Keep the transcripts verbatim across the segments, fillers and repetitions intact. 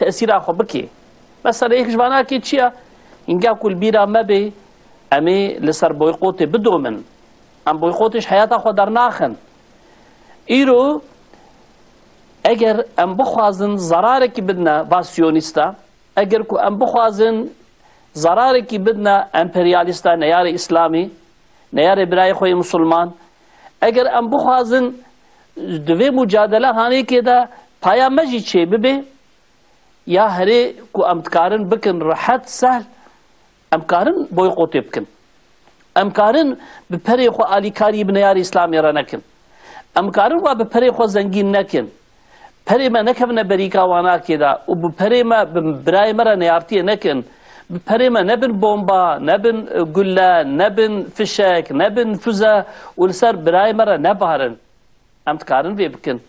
tesîra xwe bikê. Mesela yek ji vanakê çi ye? Hinga ku li bîra me bê, em ê li ser boykotê bidomin. Em boykotê ji heyata xwe dernaxin. Îro eger em bixwazin zerarekî bidine va siyonîsta, eger ku em bixwazin zerarekî bidine emperyalîsta, neyarê Îslamî, neyarê birayê xwe yê misilman, eger em bixwazin di vê mucadele hanêkê de paya me jî çê bibe, ya herê ku em dikarin bikin rehet, sehl, em karin boykotê bikin. Em karin bi perê xwe alîkarî bi neyarê Îslamê re nekin. Em karin wa bi perê xwe zengîn nekin. Perê me nekevine berîka wanakê de û bi perê me, bi birayê me re neyartiyê nekin. Bi perê me nebin bomba, nebin, e, gulle, nebin fişek, nebin füze û li ser birayê me re nebarin. Em dikarin vê bikin.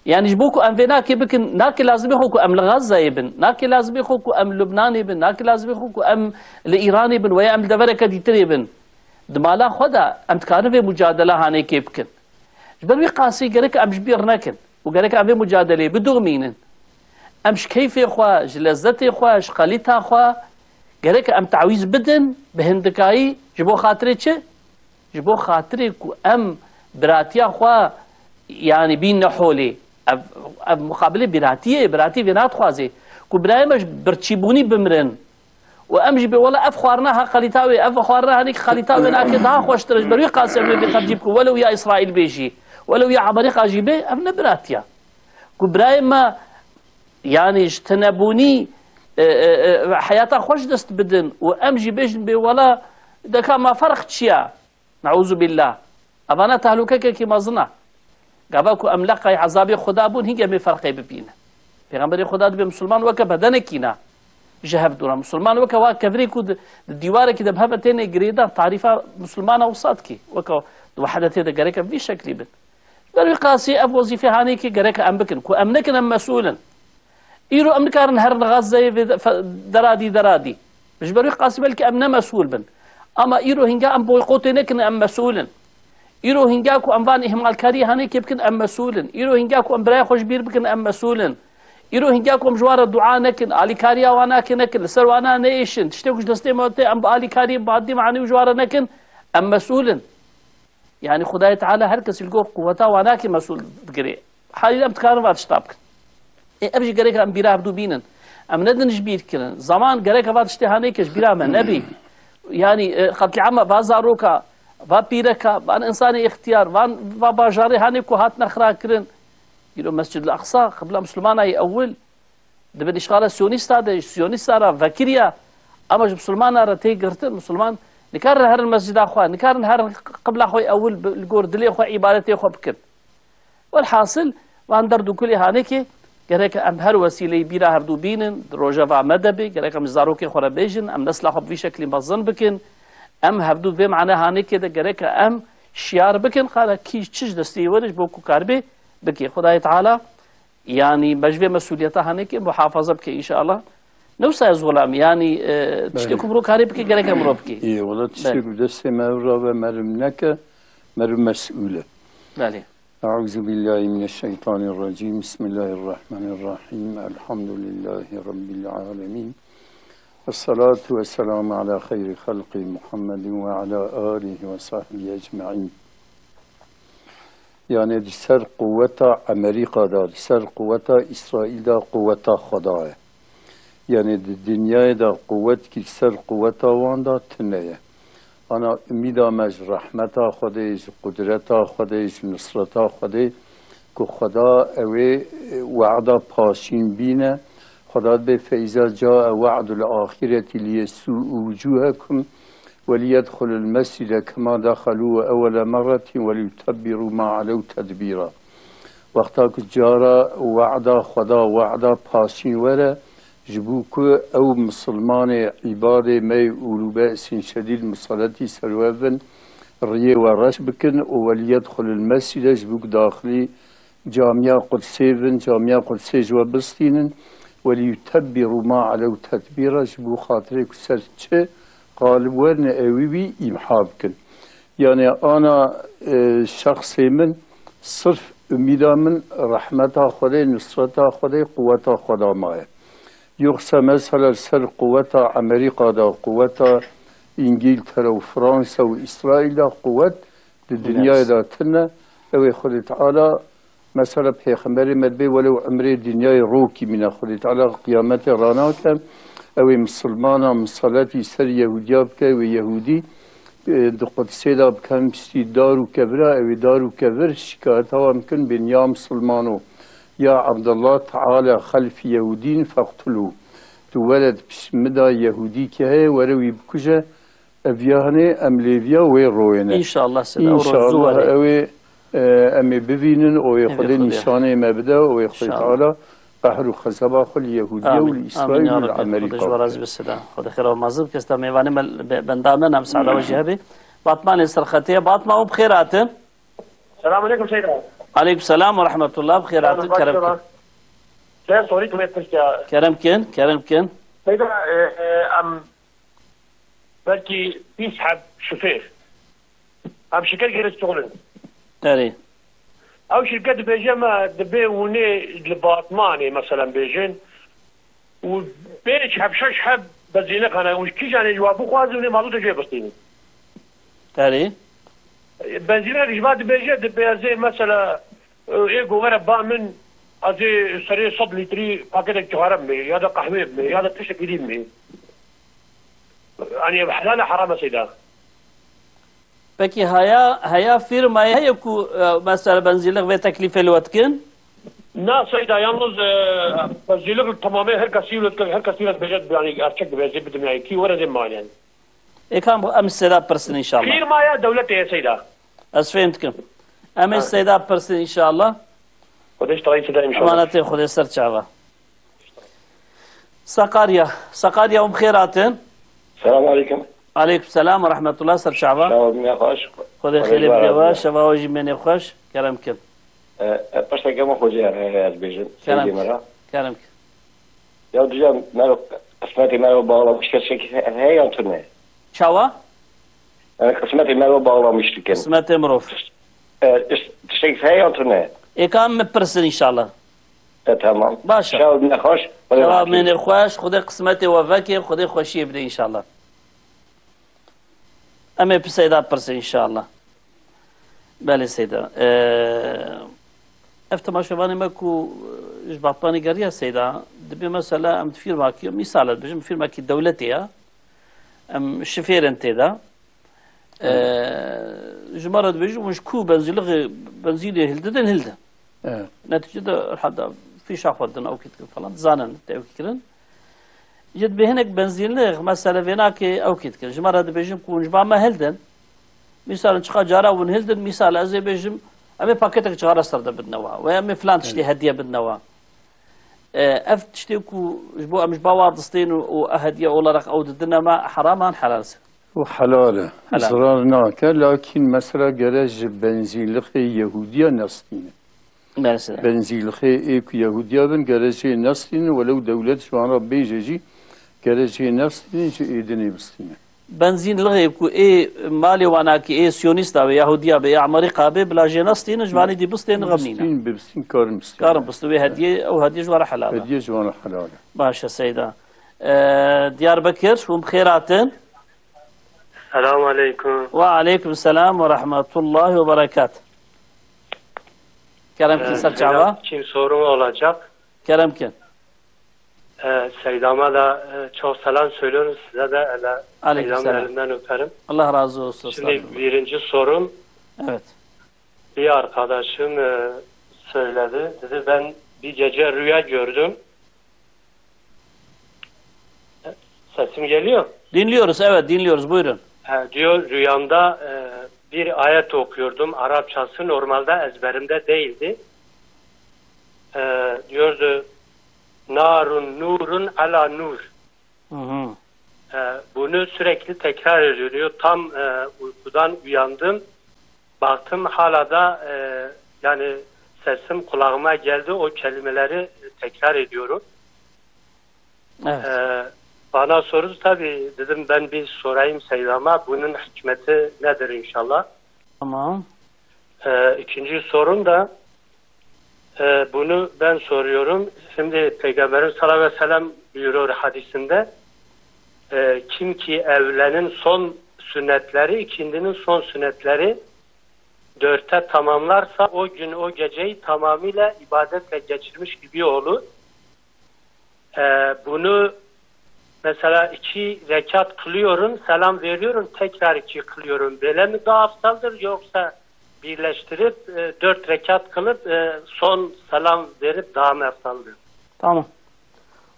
Yani ji bo ku em vê nakê bikin, nake lazimê xwe ku em li Gazze'yê bin, nake lazimê xwe ku em li Lubnanê bin, nake lazimê xwe ku em li Îranê bin, weya em li devereke dîtirê bin. Di mala xwe de em dikarin vê mucadela hanêkê bikin. Ji ber wî qasî gerek em ji bîr nekin û gerek em vê mucadeleyê bidomînin. Em ji keyfê xwe, ji lezzetê xwe, ji xelîta xwe gerek em tawîz bidin bi hindikayî. Ji bo xatirê çi? Ji bo xatirê ku em biratiya xwe, yanî bînne holê. Ev, ev muqabilê biratiyê, biratî vê nadixwazê. Ku birayê me ji birçîbûnî bimirin. Û em jî bê wela ev xwarina ha xelîta wê, ev xwarina hanê ki xelîta wê nake daha xweştir e. Ji ber wî qasî em ê vê xercî bikin. Welew ya Îsraîl bê jî, welew ya Amerîka jî bê, ev ne biratiya. Ku birayê me, yanî ji tinebûnî, e, e, e, heyata xwe ji dest bidin û em jî bêjin bê wela deka ma ferq çi ya? Neûzubillah. Evana tehlûkekekî mezin e. Gava ku em leqay ezabê Xuda bûn, hîn em ê ferqê bibînin. Pêxemberê Xuda dibê misilman weke bedenekî ne ji hev dû re. Misilman weke wa kevirê ku di, di dîwarekî de bi hev ve têne girêdan, tarîfa misilmana wisa dikê. Weke di wehedetê de gerek em vî şeklî bin. Ji ber wî qasî ev wezîfê hanê ki gerek em bikin. Ku em nekin, em mesûl in. Îro em nikarin herin Gazze'yê vê de-, fe-, deradî, deradî. Ji ber wî qasî belkî em ne mesûl bin. Ama îro hînga em boykotê nekin, em mesûl in. Îro hînga ku em van îhmalkariyê hanê kê bikin, em mesûl in. Îro hînga ku em birayê xwe ji bîr bikin, em mesûl in. Îro hînga ku em ji wan re dua nekin, alîkariya wan nake nekin, li ser wana neêşin, tiştê ku ji destê me tê, em bi alîkariyê madî manî û ji wan re nekin, em mesûl in. Yani Xwedayê Teala her kesî li gor quweta wan nake mesûl digirê. Halî em dikarin va tişta bikin. Ê, ev jî gerek em bîra hevdû bînin. Em nedin ji bîr kirin. Zaman gerek va tiştê hanê ke ji bîra me nebî. Yani, e, qetlîama va zaroka, va pîreka, van insanê îxtiyar, van, va bajarê hanê ku hatine xira kirin. Îro Mescid-ul Aqsa, qibla Musulmana yê ewil, di bin îşxala Siyonîsta de, Siyonîsta re vekiriya, ama ji Musulmana re tê girtin. Musulman nikarin herin mescida xwe, nikarin herin qibla xwe ewil bi, li gor dilê xwe îbadetê xwe bikin. Welhasil, van derd û kulê hanekê gerek em her wesîleyî bîra hevdû bînin, di rojeva me de bê, gerek em ji zarokê xwe re bêjin, em nesla xwe bi vî şeklî mezin bikin. Em hevdû vê mane hanekê de gerek em şiyar bikin, qala kî çi ji destê were ji bo ku karibê bike. Xwedayê Teala, yanî me ji vê mesûliyeta hanekê muhafaza bike înşallah. Ne wisa ez welam, yanî, e, tiştê Belê. ku mirov karê bike, gerek em mirov bike. Ê, wela tiştê Belê. ku destê me ev rabe, merim neke, merim mesûl e. Belê. أعوذ بالله من الشيطان الرجيم. بسم الله الرحمن الرحيم. الحمد لله رب العالمين. والصلاة والسلام على خير خلقه محمد وعلى آله وصحبه أجمعين. Yani di ser quweta Amerîka de, di ser quweta Îsraîl de quweta Xweda ye. Yani di dinyayê de quwet ki li ser quweta wan de tune ye. Ana umîda me ji rehmeta Xwedê, ji qudreta Xwedê, ji nusreta Xwedê, ku Xweda ew ê, e, wehda paşîn bîne. Xweda dibê, فإذا جاء وعد الآخرة ليسوءوا وجوهكم وليدخلوا المسجد كما دخلوه أول مرة وليتبروا ما علوا تتبيرا. Wexta ku cara wada Xweda, wada paşîn were, ji bo ku ew misilmanê îbadê me yê ulû be'sîn şedîd miseletî ser we bin, riyê we reş bikin û weliyedxulil mescide, ji bo ku daxilî Camiya Qudsê bin, Camiya Qudsê ji we bistînin, weliyutebbîrû ma elew tetbîra, ji bo xatirê ku ser çi qalib werin ewî wî îmha bikin. Yani ana, e, şexsê min sirf umîda min rehmeta Xwedê, nusreta Xwedê, quweta Xweda maye. Yoksa mesela ser quweta Amerîka de, quweta Îngîltere û Fransa û Îsraîl de quwet di dinyayê de tune. Ew ê Xwedê Teala, mesela Pêxemberê me dibê welew emrê dinyayê rokî mîne, Xwedê Teala qiyametê ranake. Ew ê misilmana misaletî ser Yehûdiya bike, ew ê Yehûdî, e, di Qudsê de bikin piştî dar û kevira, ew ê dar û kevir şikayeta wan bikin, bên ya misilmano, ya Abdullah, teala xelfî Yehûdîn feqtulû. Tu were di pişt min de Yehûdîkî heye, were wî bikuje, ev ya hinê em lêviya wê royê ne. Înşallah, Seyda, ew roj zû were. Înşallah ew ê, e, em ê bivînin, o ê Hêvî Xwedê Xwedê. Nîşanê me bide, o ê Xwedê Înşallah. Teala qehr û xezeba xwe li Yehûdiya û Amîn. Li Amîn Îsraîl ya û li Rebbi. Xwedê Amerîka ji we razî bike. Be Seyda. Xwedê xêra we mazin bike. Seyda, mêvanê me, be-, benda me, em Seyda we jî hebê. Batmanê ser xetê ye. Batman, hûn bi xêr hatin. Selamun aleyküm Seyda. Aleyküm selam ve rahmetullah. Bi xêr hatin. Kerem kin. Sen sorî kime pirsiya? Kerem kin, kerem kin. Seyda, e, e, em belkî bîst heb şofêr. Em şirket girê stolin. Erê. Ew şirket dibêje me dibê hûnê li Batmanê, meselen, bêjin û pênc heb, şeş heb benzînlix hene û kîjanê ji wan bixwazin, hûnê mazotê jê bistînin. Erê. Benzînlix ji van dibêje, dibê ez ê, mesela, ê ku were ba min, ez ê serê sed lîtrî paketek cixare bimê, ya da qehwê bimê, ya da tiştekî dî bimê. Yanî ev helal e, heram e Seyda? Pekî haya, heya fîrmayê heye ku, e, mesela benzînlix vê teklîfê li we dikin? Na Seyda, yalnız, e, benzînlix li temamê her kesî li, her kesî li dibêje, yanî gerçek dibêje bidim, yanî kî were zê maliyen. Ê kam em Seyda pirsin înşallah. Fîrmaya dewletê ye Seyda. Ez fêm dikim. Em ê Seyda pirsin înşallah. Xwedê ji te re Seyda înşallah. Emanetê Xwedê ser çava. Sakarya. Sakarya, hûn bi xêr hatin. Selamun aleyküm. Aleyküm selam ve rahmetullah, ser çava. Çawa, me xweş. Xwedê xêrê bide we, şeva we jî mênê xweş. Kerem kin. E, e, pişteke me xwecê, e, ez bêjim. Kerem kin. Kerem kin. Ya dija mero, qismetê mero bağlamış gerçek he, he yan tune? Çawa? Yani qismetê mero bağlamış dikin. Qismetê mirov. E, iş-, tiştek he yan tune? Ê ka min pirsin înşallah. E, tamam. Baş e. Şev nexweş. Şewa mênê xweş, Xwedê qismetê we veke, Xwedê xweşiyê bide înşallah. Em ê bi Seyda pirsin înşallah. Belê Seyda. Ee, ev temaşevanê me ku, e, ji Batmanê geriya Seyda, dibê mesela em di fîrmakî, mîsal e dibêjim, fîrmakî dewletê ya, em şifêr in tê de. Ee, ji me re dibêjin, hûn ji ku benzîlixê, benzînê hildidin, hildin. Evet. Netîcede herhalde fîşa xwe din, ew kî dikin falan, dizanin tevkî kirin. Ji dibê hinek benzînlix, mesele vênakê ew kî dikin. Ji me re dibêjin ku hûn ji ba me hildin. Mîsal çiqa cara hûn hildin, mîsal ez ê bêjim, em ê paketek cixara ser de bidine wa. We em ê filan tiştê Evet. hediye bidine wa. E, ev tiştê ku ji bo em ji ba wa distên û, û hediye olarak ew didine me, heram an helal se? O helal e. Helal. Zirar nake, lakin mesela gere ji benzînlixê Yehûdiya nestîne. Mesela. Benzîlixê ê ku Yehûdiya bin, gere jê nestînin, welew dewlet ji wan re bêje jî, gere jê nestînin, ji êdinê bistînin. Benzînlixê ku ê malê wana ki ê Siyonîsta be, Yahûdiya be, ya Amerîka be, bila jê nestînin, ji vanê dî bistênin, xem nîne. Bistîn, bibistîn, karin bistîn. Karin bistîn, wê hediyê, ew hediyê ji wan re helal e. Hediyê ji wan re helal e. Baş e, Seyda. E, Diyarbekir, hûn bi xêr hatin. Selamun aleyküm. Ve aleyküm selam ve rahmetullahi ve berekat. Kerem kin, ee, ser çava. Benim için sorum olacak. Kerem kin. Ee, Seydam'a da, e, çok selam söylüyorum. Size de ele, Aleyküm Seydam'ın selam. Elinden öperim. Allah razı olsun. Şimdi estağfurullah. Birinci sorum. Evet. Bir arkadaşım, e, söyledi. Dedi, ben bir gece rüya gördüm. Sesim geliyor. Dinliyoruz, evet, dinliyoruz. Buyurun. Ha, diyor, rüyamda, e, bir ayet okuyordum. Arapçası normalde ezberimde değildi. E, diyordu, "Narun nurun ala nur." Hı hı. E, bunu sürekli tekrar ediyor. Diyor, tam, e, uykudan uyandım. Baktım hala da, e, yani sesim kulağıma geldi. O kelimeleri tekrar ediyorum. Evet. E, bana sordu tabii, dedim ben bir sorayım Seydam'a, bunun hikmeti nedir inşallah? Tamam. E, ikinci sorum da, E, bunu ben soruyorum. Şimdi Peygamberimiz sallallahu aleyhi ve sellem buyuruyor hadisinde, e, kim ki evlenin son sünnetleri, ikindinin son sünnetleri dörtte tamamlarsa o gün o geceyi tamamıyla ibadetle geçirmiş gibi olur. E, bunu mesela iki rekat kılıyorum, selam veriyorum, tekrar iki kılıyorum. Böyle mi daha aftaldır yoksa birleştirip e, dört rekat kılıp e, son selam verip daha mı aftaldır? Tamam.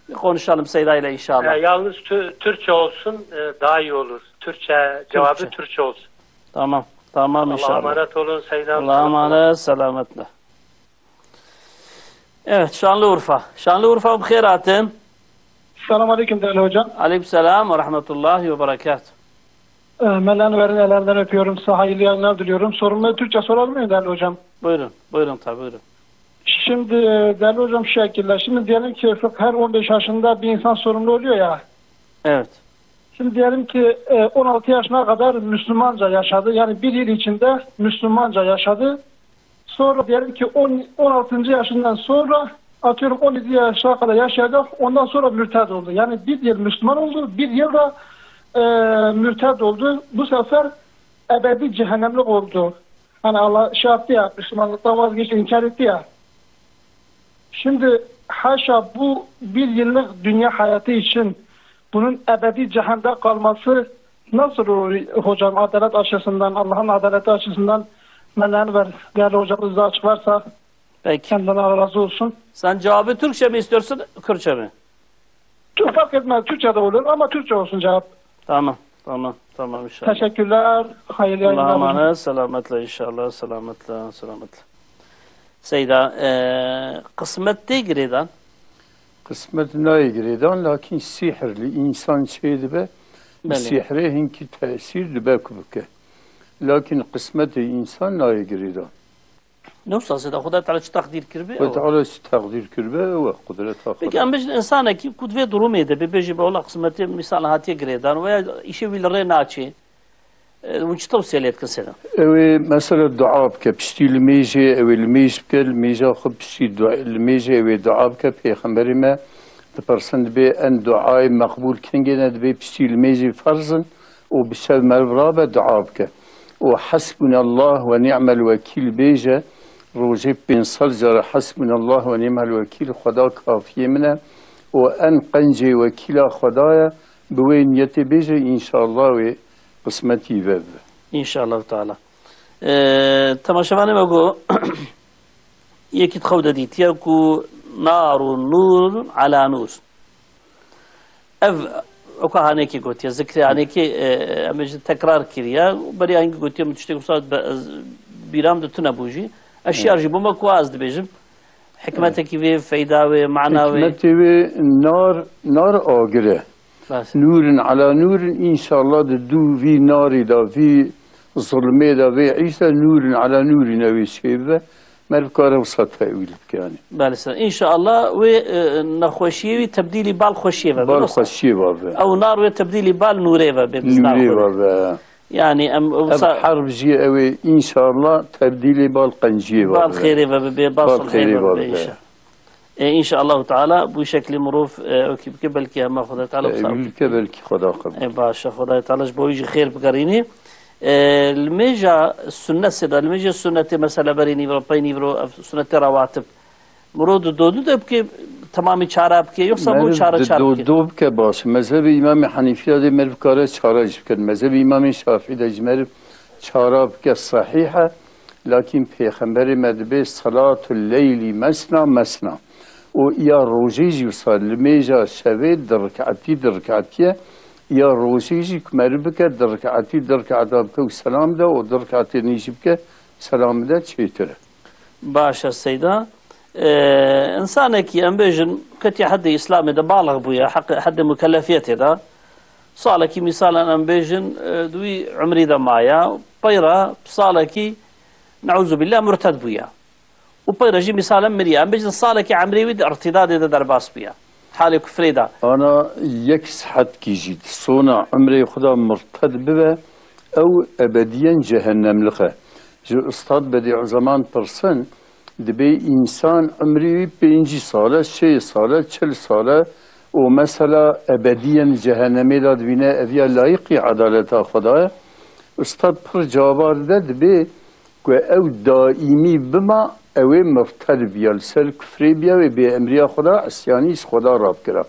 Bir konuşalım Seyda ile inşallah. E, yalnız tü- Türkçe olsun, e, daha iyi olur. Türkçe cevabı Türkçe. Türkçe olsun. Tamam. Tamam Allah'a inşallah. Emanet olun Seyda Hanım. Allah'a emanet, selametle. Evet, Şanlıurfa. Şanlıurfa, bi xêr hatin. Selamun aleyküm değerli hocam. Aleyküm selam ve rahmetullahi ve berekatuhu. Ee, Mela Enver'in ellerinden öpüyorum. Size hayırlı yayınlar diliyorum. Sorumu Türkçe sorabilir miyim değerli hocam? Buyurun, buyurun tabii, buyurun. Şimdi e, değerli hocam şu şekilde. Şimdi diyelim ki Fıkh her on beş yaşında bir insan sorumlu oluyor ya. Evet. Şimdi diyelim ki e, on altı yaşına kadar Müslümanca yaşadı. Yani bir yıl içinde Müslümanca yaşadı. Sonra diyelim ki on, on altıncı yaşından sonra atıyorum on yedi yaşına kadar yaşayacak. Ondan sonra mürted oldu. Yani bir yıl Müslüman oldu, bir yıl da e, mürted oldu. Bu sefer ebedi cehennemlik oldu. Hani Allah şey yaptı ya, Müslümanlıktan vazgeçti, inkar etti ya. Şimdi haşa bu bir yıllık dünya hayatı için bunun ebedi cehennemde kalması nasıl olur hocam? Adalet açısından, Allah'ın adaleti açısından Mela Enver değerli hocamız da açıklarsa Peki. Senden Allah razı olsun. Sen cevabı Türkçe mi istiyorsun, Kürtçe mi? Çok fark etmez. Türkçe de olur ama Türkçe olsun cevap. Tamam, tamam, tamam inşallah. Teşekkürler. Hayırlı yayınlar. Allah'a emanet, selametle inşallah, selametle, selametle. Seyda, e, qismet tê girêdan? Qismet nayê girêdan, lakin sihirli insan çê dibe, Belê. Sihirê hinkî tesîr dibe ku bike. Lakin qismetê insan nayê girêdan. Ne wisa Seyda, Xuda Teala çi teqdîr kiribe, Xuda ew e. Teala çi teqdîr kiribe, ew e qudreta Peki, Xuda. Em bêjin, insanekî ku di vê durumê de bê, bêjî be, wela qismetê mîsal hatiye girêdan, veya îşê wî li rê naçê, e, hûn çi tewsiye lê dikin Seyda? Ew ê, mesela, dua bike, piştî limêjê, ew ê limêj bike, limêja xwe piştî dua, limêjê ew ê dua bike, Pêxemberê me dipirsin, dibê en duayê meqbûl kengê ne, dibê piştî limêjê ferz in, û bi şev meriv rabe dua bike. Û Hasbunallah ve ni'mel vekîl bêje, rojê pênc sed cara Hasbunallah ve ni'mel vekîl, Xweda kafiyê min e. Û en qencê wekîla Xweda ye, bi wê niyetê bêje, înşallah wê qismetî ve bibe. İnşallah Teala. Ee, temaşevanê me got, yekî di xew de dîtiye ku nar û nûr ala nûr. Ev, weka hanekî gotiye, zikrê hanekî, e, em bêjin tekrar kiriye. Beriya hingî gotiye min tiştek wisa be-, ez, bîram de tune bû jî. Ez şiyar jî bûme ku ez dibêjim. Hikmetekî vê, feyda wê, mana wê. Hikmetê wê nar, nar agir e. Bes. Nûrin ala nûrin, înşallah di dû vî narî de, vî zulmê de, vê îşte nûrin ala nûrin ew ê çêbibe. Meriv kare wisa tewîl bike, yanî. Belê, ser. Înşallah wê, e, nexweşiyê wî tebdîlî bal xweşiyê ve be, Bal wisa. Xweşiyê ve be. Ew nar wê tebdîlî bal nûrê ve be, biz Nûrê naxwe. Ve be. Yanî em wisa Ev herb jî ew ê înşallah tebdîlê bal qenciyê ve Bal be. Xêrê ve bibe, bal Bal sulhê xêrê ve ve bibe, bibe. Înşallah. E, înşallah Teala bu şeklî mirov, e, wekî bike, belkî hema Xwedê Teala wisa Tewîl bike, belkî Xweda qebûl. E, baş e, Xwedayê Teala ji bo wî jî xêr bigerînî. E, limêja sunnet sê de, limêja sunnetê mesela berê nîvro, pey nîvro, ev sunnetê rawatib. Mirov di dodu de bike, temamî çara bike, yoksa bo Meriv çara di çar bike? Dodu bike baş. Mezhebê Îmamê Henîfî de dê meriv kare çara jî bike. Mezhebê Îmamê Şafî de jî meriv çara bike sehîh e. Lakin Pêxemberê me dibê, "Salatul leyli mesna mesna." Û ya rojê jî wisa, limêja şevê di riketî, di riketî ye. Ya rojê jî ku meriv bike, di riketî, di riketa bike û selam de û di riketê nî jî bike, selam de çêtir e. Baş e Seyda. Ee, insanekî em bêjin ketiye hedê Îslamê de, balix bûye, heq-, hedê mukellefiyetê de. Salekî mîsalan em bêjin, e, di wî umrî de maye, peyra salekî, neûzubillah, murted bûye. Û peyra jî mîsalan miriye. Em bêjin salekî emrê wî di irtîdadê de derbas bûye. Halê kufrê de. Ana yek sihetkî jî di sona emrê xwe de murted bibe, ew ebediyen cehennemlik e. Ji Ustad Bedîuzeman pirsin, Dibê însan emrê wî pêncî sal e, şêst sal e, çil sal e û mesela ebediyen cehennemê de dibîne, ev ya layîqî edaleta Xweda ye? Ustad pir cawab dide, dibê ku ew daîmî bima, ew ê mirted biya, li ser kufrê biya, wê bê emriya Xweda, isyanî ji Xweda rabikira.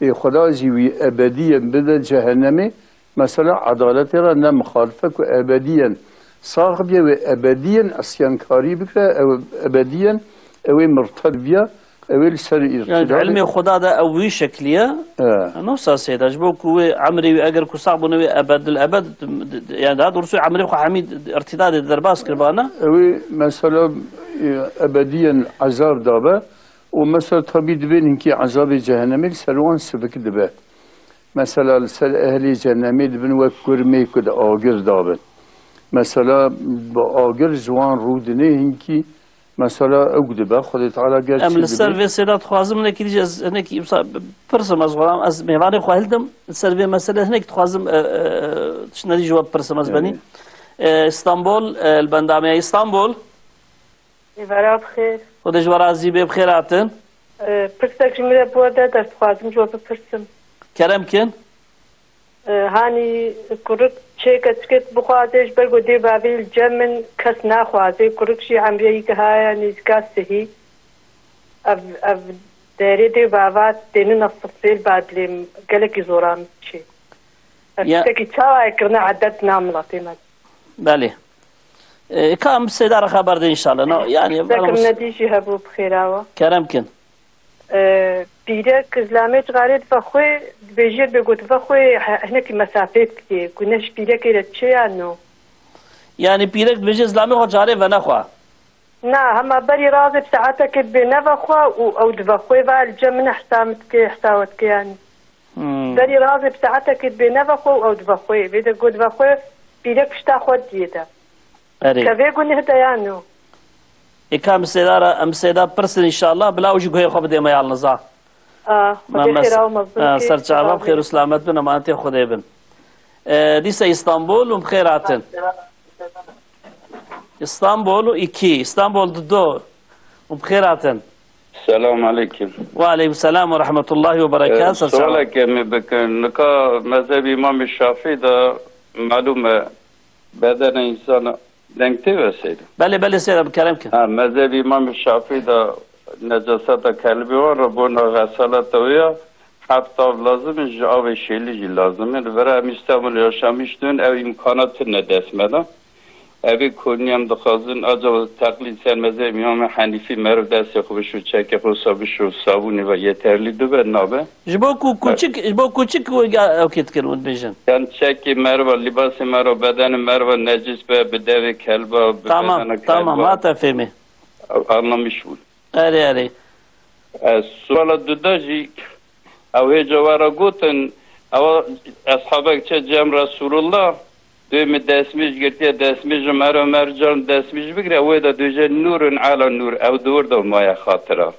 Ê Xweda jî wî ebediyen bide cehennemê, mesela edaletê re ne mixalif e ku ebediyen sax biye, wê ebediyen isyankarî bikire, ew ebediyen ew ê mirted biya, ew ê li ser Yani di îrtîda ilmê be. Xweda de ew wî şeklî ye. E. Ne wisa seyda, ji bo ku wê emrê wî eger ku sax bûne wê ebed li ebed, yani daha doğrusu emrê xwe hemî îrtîda de derbas kiribana. Ew ê mesela, e, ebediyen ezab dabe û mesela tabî dibên hinkî ezabê cehennemê li ser wan sivik dibe. Mesela li ser ehlê cehennemê dibin wek kurmê ku di agir dabin. Mesela bi agir ji wan rûdinê hinkî, mesela ew dibe, Xwedê Teala gerçî Em li ser dibê. Vê sêda dixwazim hinekî dî ez hinekî wisa pirsim ez xweram, ez mêvanê xwe hildim, li ser vê meselê hinek dixwazim, e, e, tiştine dî ji we bipirsim ez benî. Belê. E, Îstanbul, e, li bendamiya Îstanbul. Êvara bi xêr. Xwedê ji we razî bê, bi xêr hatin. E, pirsek ji min re bi we de, destxwazim ji we bipirsim. Kerem kin. E, hanî kurik çê keçikê bixwaze, ji ber ku dê bavê li cem min kes naxwaze. Kurik jî emrê wî gihaye nêzîka sihî. Ev, ev derê dê bava têne nesifê li badlê min. Gelekî zora min diçê. Ev Ya- tiştekî çawa ye kirine edet na miletê me? Belê. E, ka em sêdara xeber de înşallah. No, yani, Sekim bana nedî jî hebû bi xêra we. Kerem kin. E, pîrek zilamê cixarê dive xwe, dibêjê dibê got dive xwe he-, hinekî mesafê dikê. Ku ne ji pîrekê re çi ya no? Yani pîrek dibêje zilamê xwe carê venexwe. Na, hema berî razê bi saetekê dibê neve xwe û ew dive xwe va li cem min hesa min dikê, hesa we dikê yani. Hmm. Berî razê bi saetekê dibê neve xwe û ew dive xwe. Vê de got dive xwe pîrek pişta xwe diyê de. Erê. Kevê gunih de ya no. Ê ka em sêdara, em sêda pirsin înşallah, bila ew jî guhê xwe bidê me ya Niza. A, Xwedê xêra û mezin a, bikî. Ser çava bi xêr û selamet bin, emanetê Xwedê bin. E, dîsa Îstanbul û bi xêr hatin. Îstanbul û iki, Îstanbul dudo û bi xêr hatin. Selam aleyküm. Ve aleyküm selam ve rahmetullahi ve berekat. Ee, ser çava. Sualeke me bikin. Nika mezhebî Îmamê Şafî de malûm e, bedene însana deng tê ve seyda. Belê, belê seyda, bi kerem kin. Ha, mezhebî Îmamê Şafî de necaseta kelbê wan re bona xesaleta wê ya heft av lazim in, ji avê şêlî jî lazim in. Li vir em Îstanbul yaşamiş dûn, ev îmkana tune dest me de. Evê konî em dixwazin, acaba teqlîd ser mezhebê Îmamê Henîfî meriv destê xwe bişo, çekê xwe wisa bişo, sabûnê ve yeterlî dibe, nabe? Ji bo ku Evet. Kûçik, ji bo kûçik wê ga-, ew kê dikin û dibêjin. Yan çekê meriva, lîbasê meriva, bedenê meriva necîs be, bi devê kelba, bi Tamam, bedena tamam, kelba. Hate fêmê. Anlamış bûn. Erê, erê. E, suala duda jî, ew hêca we re gotin, ewa eshabek çe cem Resulullah, dê min destmîj girtiye, destmîj Ömer, Ömer can destmîj bigire, wê de dûje nûrun ala nûr, ew dûr de maye xatira.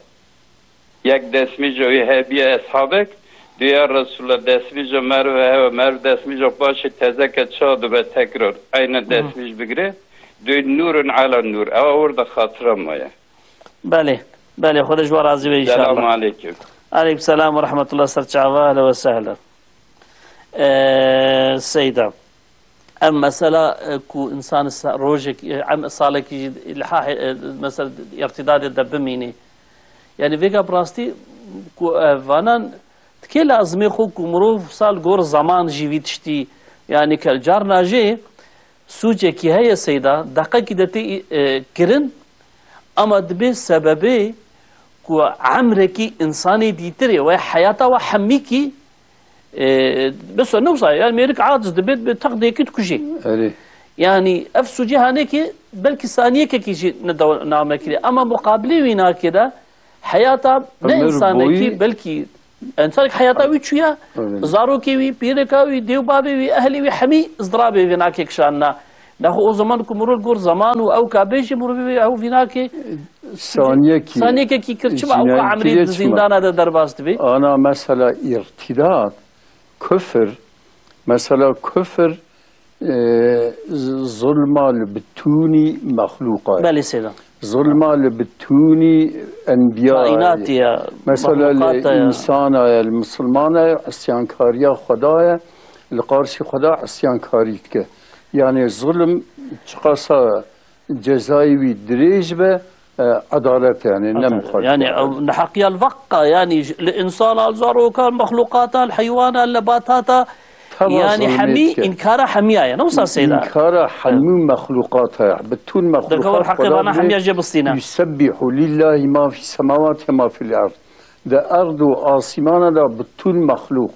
Yek destmîja wî hebiye eshabek, dûya Resulullah destmîja Merve hewe, Merv destmîja paşê tezeke ça dibe tekrar, eyne Hı. destmîj bigire, dû nûrun ala nûr, ewa orada xatira maye. Belê, belê, Xwedê ji we razî be înşallah. Selamu aleyküm. Aleyküm selam ve rahmetullah, ser çava, ehlen ve sehlen. Ee, Seyda, ev mesela, e, ku însan sa-, rojek, e, em, salekî jî ilhah, e, mesela îrtidadê de bimînî. Yani vêga bi rastî ku, e, vanan dikê lazimê xwe ku mirov sal gor zaman jî vî tiştî, yani ke carna jê Sûcekî heye seyda, deqekî de tê, e, kirin, ama dibê sebebê ku emrekî însanê dîtirê we heyata we hemîkî, e, mesela ne wisa, yani mêrik aciz dibe, bi teqdêkî dikujê. Erê. Yani ev sûcê hanekê belkî saniyekekî jî ne dew-, name kirê. Ama muqabilê wî nakê de heyata ne Ömür însanekî boyu belkî Însanek heyata wî çûye, Evet. zarokê wî, pîreka wî, dê û bavê wî, ehlê wî hemî izdirabê vînakê kişanina. Nexwe o zaman ku mirov gor zaman û ew ka bêjî mirov wî ew vînakê Saniyekî saniyekekî kir, çima ew ka cinayetî emrî çima? Di zîndana de derbas dibê? Ana mesela îrtîdat, kufir, mesela kufir, e, z-, zulma li bitûnî mexlûqa ye. Belê seyda. Zulma li bitûnî enbiyayê. Kaînatê ye, Mesela li mexlûqata ye. Însana ye, li misilmana ye, isyankariya Xweda ye, li qarşî Xweda isyankarî dike. Yani zulm çiqasa cezayê wî dirêj be, e, edalet yani, ne Edalet. muxalifet. Yani, ew neheqiya li veqa, yani, li însana, li zarokan, mexlûqata, li heywana, li nebatata, Teva yani zulmê hemî dike. înkara hemiya ye. Ne wisa Seyda? Înkara hemû mexlûqata ye. Bütün Deke mexlûqat heqê Xweda vana dibê, hemiya jê bistîne. "Yusebbihu lillahi ma fî semawati ma fîl erd." Di erd û asîmana de bütün mexlûq,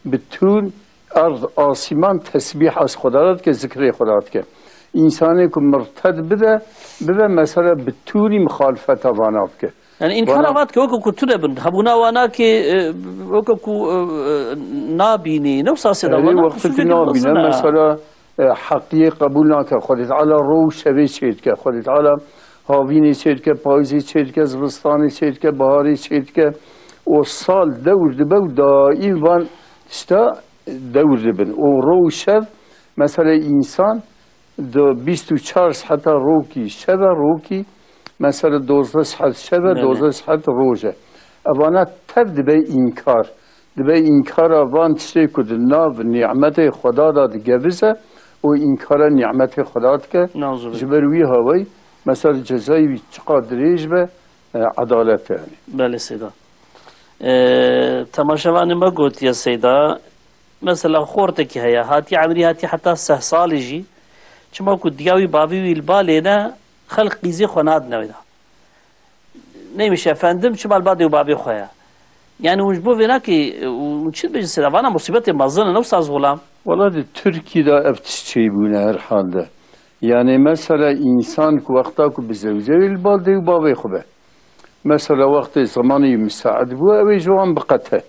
bütün erd, asîman tesbîh ez Xweda re dike, zikrê Xweda dike. Însanê ku mirted bide, bibe mesela bitûnî muxalifeta vana bike. Yani înkara Vana va dike weke ku tune bin. Hebûna wana ki, e, weke ku, e, e, nabînî. Ne wisa Seyda Erê, vana? wextê ku Sûcekî nabîne, mezin e. mesela, e, heqiyê qebûl nake. Xwedê Teala ro û şevê çê dike. Xwedê Teala havînê çê dike, payîzê çê dike, zivistanê çê dike, biharê çê dike. O sal dewr dibe û daîm van tişta dewr dibin. O ro û şev, mesela, însan di bîst û çar seheta rokî şev e, rokî, mesela, dozdeh sehet şev e, Belê. dozdeh sehet roj e. Evana tev dibe înkar. Dibe înkara van tiştê ku di nav nîmetê Xweda de digevize û înkara nîmetê Xweda dike. Nauzubillah. Ji ber wî hawayî, mesela, cezayê wî çiqa dirêj be, e, edalet e yani. Belê Seyda. E, temaşevanê me gotiye Seyda, mesela xortekî heye, hatiye emrî hatiye heta seh salî jî, çima ku diya wî bavê wî li balê ne, xelk qîzê xwe nadine wê de. Neymiş efendim, çima li ba dê û bavê xwe ye? Yani hûn ji bo vê nakê, hûn çi dibêjin Seyda? Vana musîbetê mezin e, ne wisa ez xulam? Wala di Tirkî de ev tişt çêbûne her halde. Yani mesela însan ku wexta ku bi zewce wê li ba dê û bavê xwe be. Mesela wextê zemanê wî misaid bû, ew ê ji wan biqete.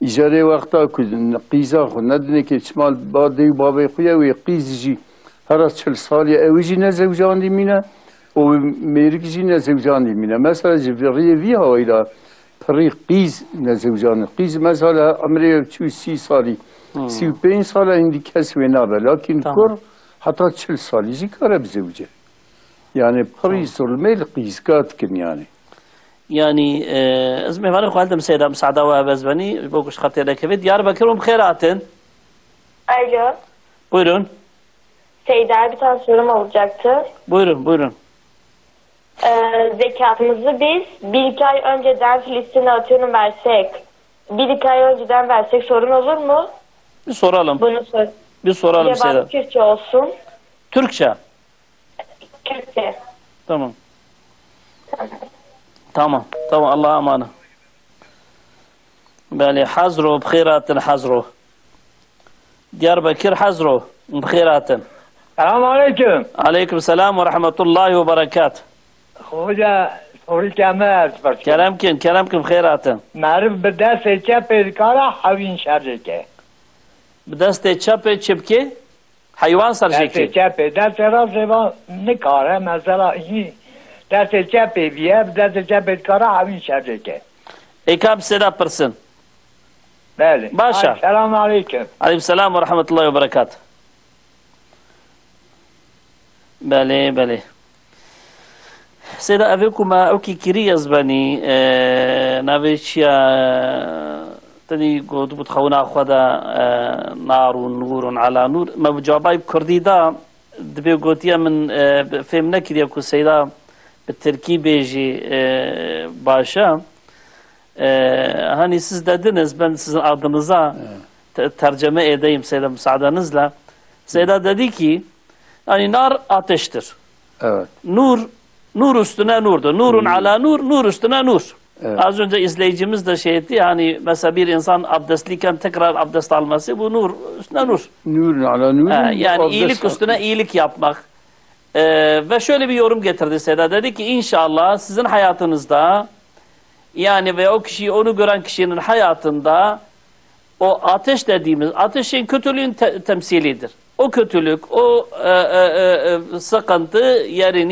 Îcarê wexta ku qîza xwe nedinê kê çima li ba dê û bavê xwe ye, wê qîz jî hera çil salî ew jî nezewcandî mîne û mêrik jî nezewcandî mîne. Mesela ji vî riyê vî hawayî de pirî qîz nezewcandin. Qîz mesela emrê çû sî salî, Hmm. sî û pênc sal e, hindî kes wê nabe. Lakin Tamam. kur heta çil salî jî kare bizewce. Yani pirî Tamam. zulmê li qîzka dikin yani. Yani, e, ez mêvanê xwe hildim Seyda, misaada we hebe ez benî, ji bo ku ji xetê nekevê. Diyarbekir hûn bi xêr hatin. Alo. Buyurun. Seyda, bir tane sorum olacaktı. Buyurun, buyurun. Ee, zekatımızı biz bir iki ay önceden Filistin'e atıyorum versek, bir iki ay önceden versek sorun olur mu? Bir soralım. Bunu sor. Bir soralım Cevap Seyda. Türkçe olsun. Türkçe. Türkçe. Tamam. Tamam. Tamam, Allah'a emanet. Belê, Hezro, bi xêr hatin Hezro. Diyarbekir, Hezro, bi xêr hatin. Selam aleyküm. Aleyküm selam ve rahmetullahi ve berekat. Hoca, sorî ke me ez pirs. Kerem kin, kerem kin, bi xêr hatin. Meriv bi destê çepê dikare hewîn şerê ke. Bi destê çepê çi bike? Heywan ser jê Destê kê. çepê, destê rastê va nikare, mesela, hî, destê çepê viye, bi destê çepê dikare hewîn şerê ke. Êka bi Seyda pirsin. Belê. Baş e. Ay, selam aleyküm. Aleyküm selam ve rahmetullahi ve berekat. Belê, belê. Seyda, evê ku me ewkî kirî ez benî, e, navê çi ye, tenî gotibû di xewna xwe de, e, "Narun nurun ala nur." Me bi cawabay bi kurdî da, dibê gotiye min, e, fêm nekiriye ku Seyda bi tirkî bêjî, e, baş e. E, hani siz dediniz, ben sizin adınıza Evet. te-, tercüme edeyim Seyda müsaadenizle. Seyda dedi ki, yani nar ateştir. Evet. Nur, nur üstüne nurdur. Nur. Nur ala nur, nur üstüne nur. Evet. Az önce izleyicimiz de şey etti, hani mesela bir insan abdestliyken tekrar abdest alması, bu nur üstüne nur. Nur ala nur. Ha, yani iyilik üstüne iyilik yapmak. Ee, ve şöyle bir yorum getirdi Seyda. Dedi ki, "İnşallah sizin hayatınızda, yani ve o kişi, onu gören kişinin hayatında o ateş dediğimiz, ateşin kötülüğün te-, temsilidir. O kötülük, o, e, e, e, e, sıkıntı yerini